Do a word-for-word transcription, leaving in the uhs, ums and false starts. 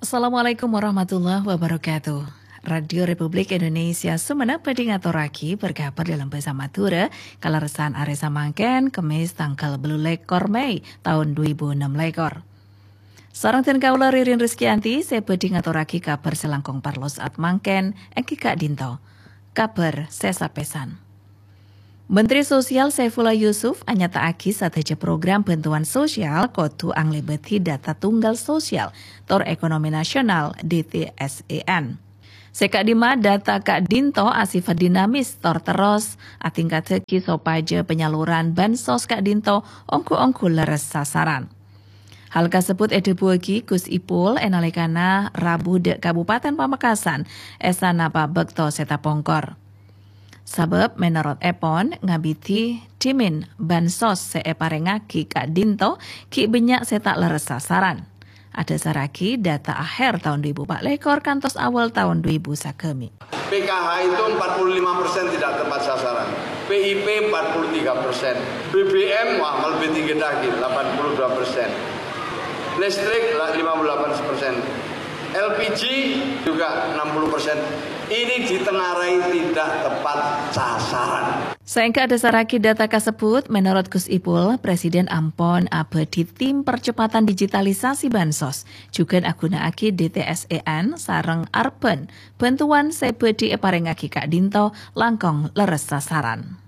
Assalamualaikum warahmatullahi wabarakatuh. Radio Republik Indonesia Sumenep bhâdhi ngatorraghi berkabar dalam bahasa Madura, kalerressan arè samangkèn, Kemis tanggal bâllu lèkor Mei taon dhu èbu ennem lèkor. Sareng dhân kaulâ Ririn Rizkyanti, sè bhâdhi ngatorraghi kabar sè langkong parlo saat mangkèn, èngghi ka'dinto. Kabar sè sapèsan. Menteri Sosial Saifullah Yusuf anyata'aghi sadhâjâ program bantuan sosial kodhu anglèbâdhi data tunggal sosial tor ekonomi nasional D T S E N. Sè ka'dimma data ka'dinto asifat dinamis tor terros atingkaddhâghi sopajâ penyaluran bansos ka'dinto ongghu-ongghu lerres sasaran. Hal kasebbhut èdhâbuwâghi Gus Ipul è nalèkana rabu dâ' Kabupaten Pamekasan è sanapa bâkto sè tapongkor. Sabâb mènorot èpon ngabidhi dhimèn bansos sè èparèngaghi ka'dinto ghi' bânnya' sè ta' lerres sasaran. Adhâsarraghi data akhèr taon dhu èbu pa' lèkor kantos awal taon dhu èbu sagâmè. P K H itu empat puluh lima persen tidak tepat sasaran, P I P empat puluh tiga persen, B B M wah lebih tinggi lagi, delapan puluh dua persen, listrik lima puluh delapan persen, L P G juga enam puluh persen. Ini ditengarai tidak tepat sasaran. Saèngghâ adhâsarraghi data kasebbhut, mènorot Gus Ipul, Presiden ampon abâdhi tim percepatan digitalisasi bansos, jhughân aghuna'aghi D T S E N sareng Arban. Bantuan sè bhâdhi èparèngaghi ka'dinto langkong lerres sasaran.